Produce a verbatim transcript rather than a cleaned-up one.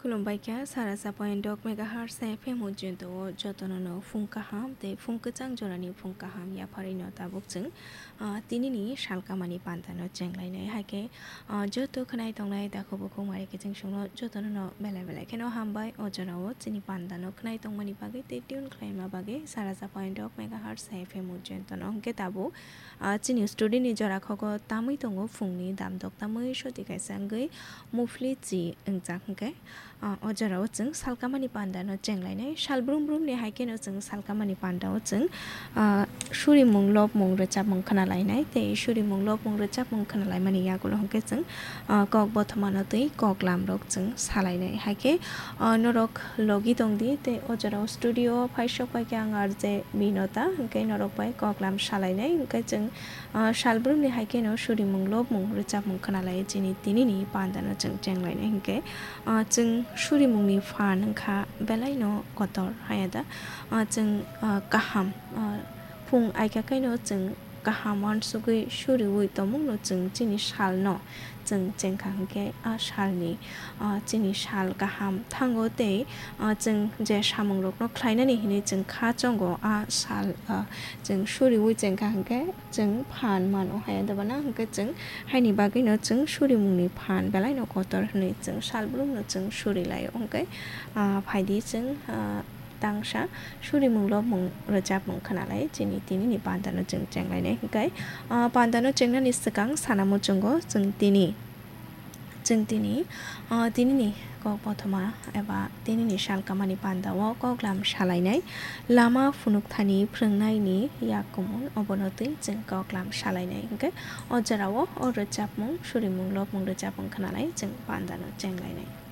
Khulumbai kha, sara sa point dok megahertz F M o joto o jotono no phung kaham tei phung kwchang jorani phung kaham yapharwi no tabuk chwng, ah, tinini salkamani panda no chenglainai. Hai khe, ah, joto khwnai tongnai takhuk bukhuk mari kiching songno jotono no belai belai kheno hambai o jorao chini panda no khwnai tongmani bagwi tei tune khlaima bagwi sara sa point dok megahertz F M o jotono hwnkhe tabuk, ah, chini studio ni jora khogo tamwi tongo phungni damdok tamwi soti kaisa wngwi muphli chi wngjak hwnkhe, ah, o jorao chwng salkamani panda no chenglainai. Sal brum brum ni hai kheno chwng salkamani panda o chwng, ah, surimung lobmung rwchapmung khwnalainai tei surimung lobmung rwchapmung khwnalaimani yagulo hwnkhe chwng, ah, kok bothoma no twi kok lam rok chwng salainai. Hai khe, ah, norok logi tongdi tei o jorao studio o phai sok pai khe ang R J Binota hwnkhe norok bai kok lam salainai hwnkhe chwng, ah, sal brum ni hai kheno surimung lobmung rwchapmung khwnalai chini tinini panda no chwng chenglainai hwnkhe, ah, chwng surimung ni phan wngkha belai no kotor haya da, ah, chwng, ah, kaham, ah, phung aika khaino chwng kaham uansugwi suriwi tongmung no chwng chini sal no chwng chengkha hwnkhe a sal ni, ah, chini sal kaham thango tei, ah, chwng je samung rok no khlainani hinwi chwng kha chongo a sal, ah, chwng suriwi chengkha hwnkhe chwng phan mano haya da bana hwnkhe chwng haini bagwi no chwng surimung ni phan belai no kotor hinwi chwng sal brum no chwng suri laio hwnkhe, ah, phaidi chwng, ah, tangsa surimung lobmung rwchapmung khwnalai chini tinini panda no chwng chenglainai hwnkhe, ah, panda no chengnani swkang sana muchungo chwng tini, chwng tini, ah, tinini kok bothoma eba tinini salkamani panda o koklam salainai lama phunukthani phrwngnaini yak kumun obono twi chwng koklam salainai hwnkhe o jorao o rwchapmung surimung lobmung rwchapmung khwnalai chwng panda no chenglainai.